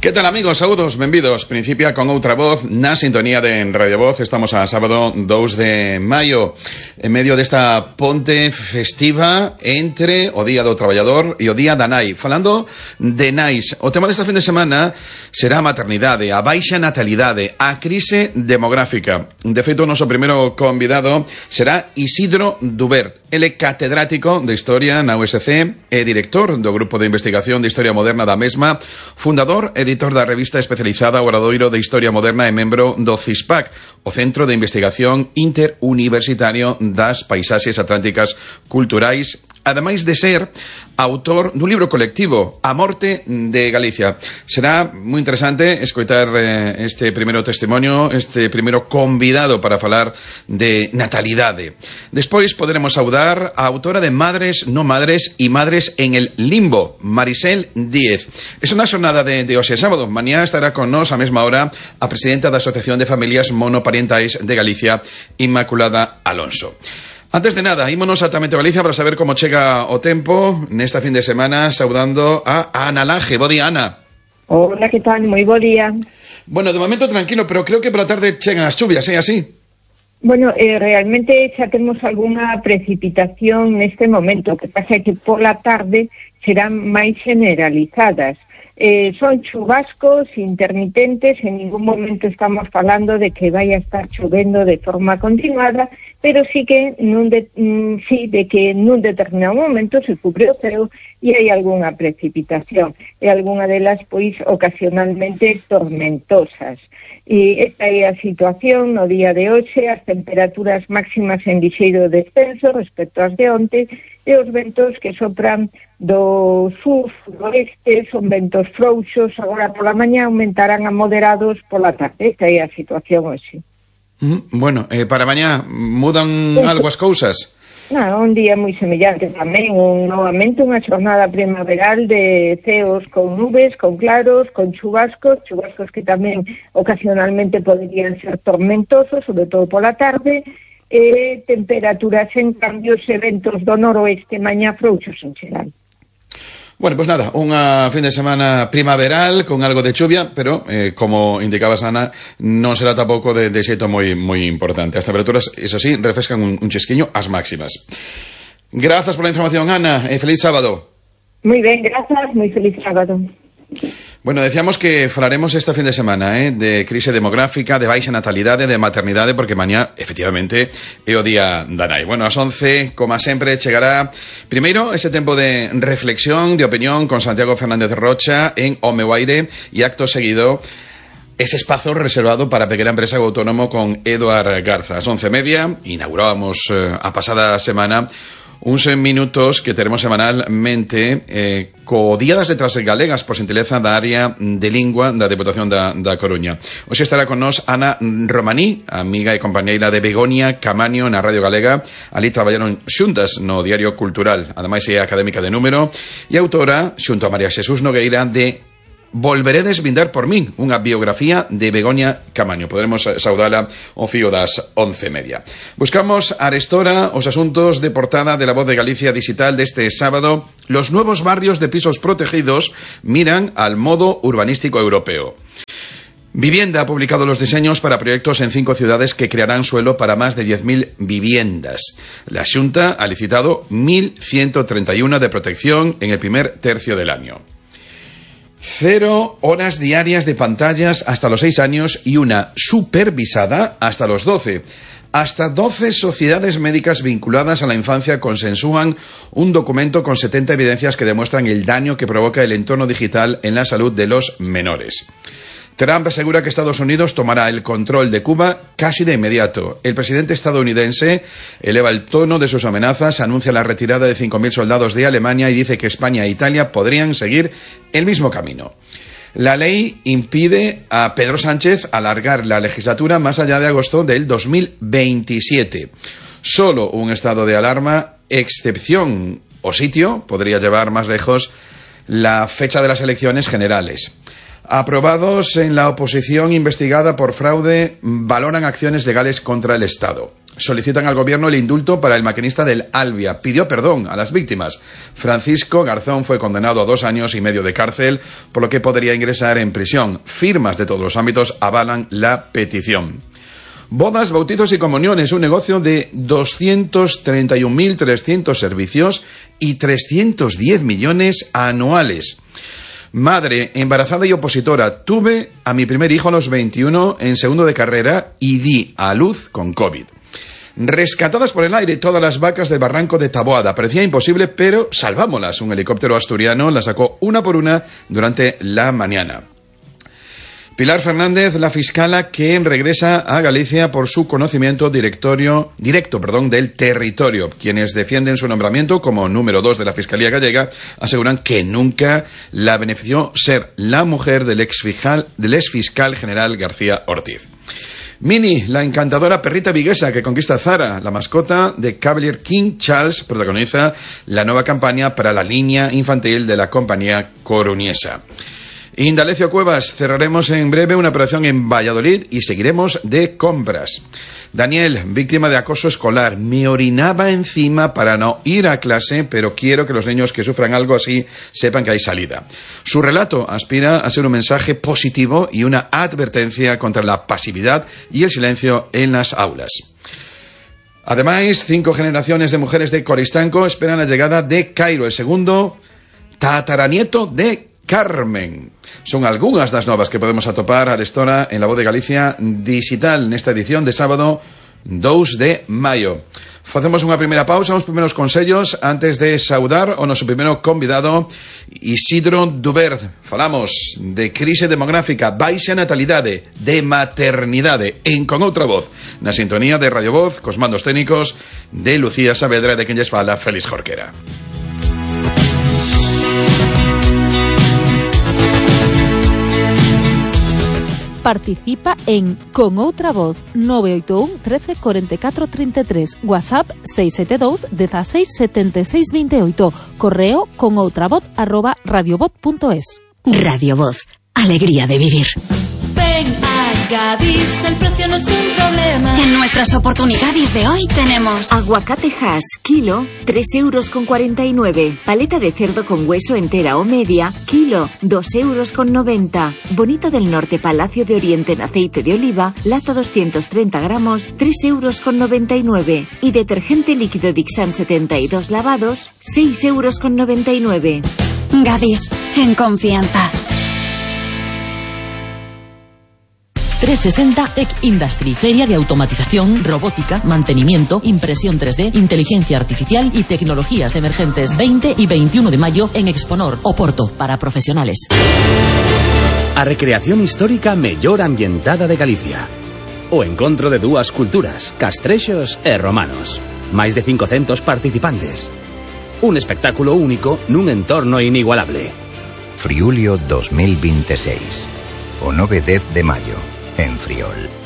Que tal, amigos? Saúdos, benvidos. Principia con outra voz na sintonía de Radio Voz. Estamos a sábado 2 de maio, en medio desta ponte festiva entre o Día do Traballador e o Día da Nai. Falando de nais, o tema desta fin de semana será a maternidade, a baixa natalidade, a crise demográfica. De feito, o noso primeiro convidado será Isidro Dubert. Ele é catedrático de Historia na USC e director do Grupo de Investigación de Historia Moderna da mesma, fundador e editor da revista especializada Obradoiro de Historia Moderna e membro do CISPAC, o Centro de Investigación Interuniversitario das Paisaxes Atlánticas Culturais, ademais de ser autor dun libro colectivo, A Morte de Galicia. Será moi interesante escoitar este primeiro testimonio, este primeiro convidado para falar de natalidade. Despois poderemos saudar a autora de Madres, no madres e Madres en el Limbo, Marisel Díez. É unha xornada de hoxe sábado. Mañá estará con nós a mesma hora a presidenta da Asociación de Familias Monoparentais de Galicia, Inmaculada Alonso. Antes de nada, ímonos atamente a Galicia para saber como chega o tempo nesta fin de semana, saudando a Ana Laje. Bo día, Ana. Hola, que tal? Moi bo día. Bueno, de momento tranquilo, pero creo que pola tarde chegan as chuvias, é así? Bueno, realmente xa temos algunha precipitación neste momento, que pasa que pola tarde serán máis generalizadas. Son chubascos intermitentes, en ningún momento estamos falando de que vai a estar chovendo de forma continuada, pero sí que de que nun determinado momento se cubre o ceo e hai algunha precipitación, e algunha delas pois ocasionalmente tormentosas. E esta é a situación no día de hoxe, as temperaturas máximas en lixeiro descenso respecto ás de onte, e os ventos que sopran do sur, suroeste, son ventos frouxos, agora pola mañá aumentarán a moderados pola tarde. Esta é a situación hoxe. Bueno, para mañá mudan algo as cousas? Un día moi semellante tamén, novamente unha xornada primaveral de ceos con nubes, con claros, con chubascos que tamén ocasionalmente poderían ser tormentosos, sobre todo pola tarde, temperaturas en cambios e ventos do noroeste mañá frouxos en xeral. Bueno, pues nada, unha fin de semana primaveral con algo de chuvia, pero, como indicabas, Ana, non será tampouco de xeito moi importante. As temperaturas, eso sí, refrescan un chisquiño ás máximas. Grazas pola información, Ana, e feliz sábado. Moi ben, grazas, moi feliz sábado. Bueno, decíamos que falaremos este fin de semana de crise demográfica, de baixa natalidade, de maternidade, porque mañá, efectivamente, é o día da nai. Bueno, ás 11, como sempre, chegará primeiro ese tempo de reflexión, de opinión con Santiago Fernández Rocha en O Meu Aire, e acto seguido ese espazo reservado para a pequena empresa autónomo con Eduard Garza. Ás 11:30 inaugurábamos a pasada semana uns minutos que teremos semanalmente co Día das Letras Galegas por xentileza da área de lingua da Deputación da Coruña. Hoxe estará con nós Ana Romaní, amiga e compañeira de Begoña Camaño na Radio Galega. Ali traballaron xuntas no Diario Cultural, ademais é académica de número e autora, xunto a María Xesús Nogueira, de Volveredes vindar por min, unha biografía de Begoña Camaño. Poderemos saudala ao fío das 11:30. Buscamos arestora os asuntos de portada de La Voz de Galicia Digital deste sábado. Los nuevos barrios de pisos protegidos miran al modo urbanístico europeo. Vivienda ha publicado los diseños para proyectos en 5 ciudades que crearán suelo para más de 10.000 viviendas. La Xunta ha licitado 1.131 de protección en el primer tercio del año. 0 horas diarias de pantallas hasta los 6 años y una supervisada hasta los 12. Hasta 12 sociedades médicas vinculadas a la infancia consensúan un documento con 70 evidencias que demuestran el daño que provoca el entorno digital en la salud de los menores. Trump asegura que Estados Unidos tomará el control de Cuba casi de inmediato. El presidente estadounidense eleva el tono de sus amenazas, anuncia la retirada de 5.000 soldados de Alemania y dice que España e Italia podrían seguir el mismo camino. La ley impide a Pedro Sánchez alargar la legislatura más allá de agosto del 2027. Solo un estado de alarma, excepción o sitio, podría llevar más lejos la fecha de las elecciones generales. Aprobados en la oposición investigada por fraude valoran acciones legales contra el Estado. solicitan al gobierno el indulto para el maquinista del Albia. Pidió perdón a las víctimas. Francisco Garzón fue condenado a 2 años y medio de cárcel, por lo que podría ingresar en prisión. Firmas de todos los ámbitos avalan la petición. Bodas, bautizos y comuniones, un negocio de 231.300 servicios y 310 millones anuales. Madre, embarazada y opositora. Tuve a mi primer hijo a los 21 en segundo de carrera y di a luz con COVID. Rescatadas por el aire todas las vacas del barranco de Taboada. Parecía imposible, pero salvámoslas. Un helicóptero asturiano las sacó una por una durante la mañana. Pilar Fernández, la fiscala que regresa a Galicia por su conocimiento directo del territorio. Quienes defienden su nombramiento como número 2 de la Fiscalía Gallega aseguran que nunca la benefició ser la mujer del exfiscal general García Ortiz. Minnie, la encantadora perrita viguesa que conquista Zara, la mascota de Cavalier King Charles, protagoniza la nueva campaña para la línea infantil de la compañía coruñesa. Indalecio Cuevas, cerraremos en breve una operación en Valladolid y seguiremos de compras. Daniel, víctima de acoso escolar, me orinaba encima para no ir a clase, pero quiero que los niños que sufran algo así sepan que hay salida. Su relato aspira a ser un mensaje positivo y una advertencia contra la pasividad y el silencio en las aulas. Además, 5 generaciones de mujeres de Coristanco esperan la llegada de Cairo, el segundo tataranieto de Carmen. Son algunhas das novas que podemos atopar a lestora en La Voz de Galicia digital nesta edición de sábado 2 de maio. Facemos unha primeira pausa, uns primeiros consellos antes de saudar o noso primeiro convidado, Isidro Dubert. Falamos de crise demográfica, baixa natalidade, de maternidade en Con Outra Voz, na sintonía de Radio Voz, cos mandos técnicos de Lucía Saavedra, de quen lles fala Félix Jorquera. Participa en Con Outra Voz 981 13 44 33, WhatsApp 672 16 76 28, correo conoutravoz@radiovoz.es. Radio Voz, alegría de vivir. Ven a Gadis, el precio no es un problema. En nuestras oportunidades de hoy tenemos aguacate Hass, kilo, 3,49 €. Paleta de cerdo con hueso entera o media, kilo, 2,90 €. Bonito del Norte Palacio de Oriente en aceite de oliva, lata 230 gramos, 3,99 €. Y detergente líquido Dixan 72 lavados, 6,99 €. Gadis, en confianza. 360 Tech Industry, feria de automatización, robótica, mantenimiento, impresión 3D, inteligencia artificial y tecnologías emergentes. 20 y 21 de mayo en Exponor, Oporto, para profesionales. A recreación histórica mellor ambientada de Galicia. O encontro de dúas culturas, castrexos e romanos. Máis de 500 participantes. Un espectáculo único nun entorno inigualable. Friulio 2026. O 9-10 de mayo. En Friol.